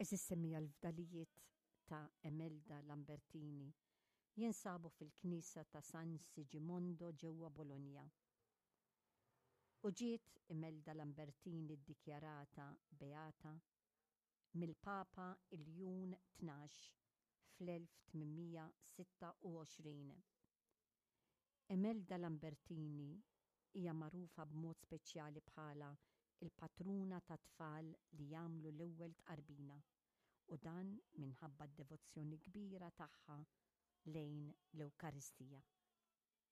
Għeżież semmiegħa l-fdalijiet ta' Emelda Lambertini jinsabu fil-knisja ta' San Sigimondo ġewwa Bologna. U ġiet Imelda Lambertini ddikjarata beata mill-Papa Iljun 12 fl-1826. Emelda Lambertini hija magħrufa b'mod speċjali bħala l-patruna tat-tfal li jagħmlu l-ewwel tqarbina u dan minħabba d-devozzjoni kbira tagħha lejn l-Ewkaristija.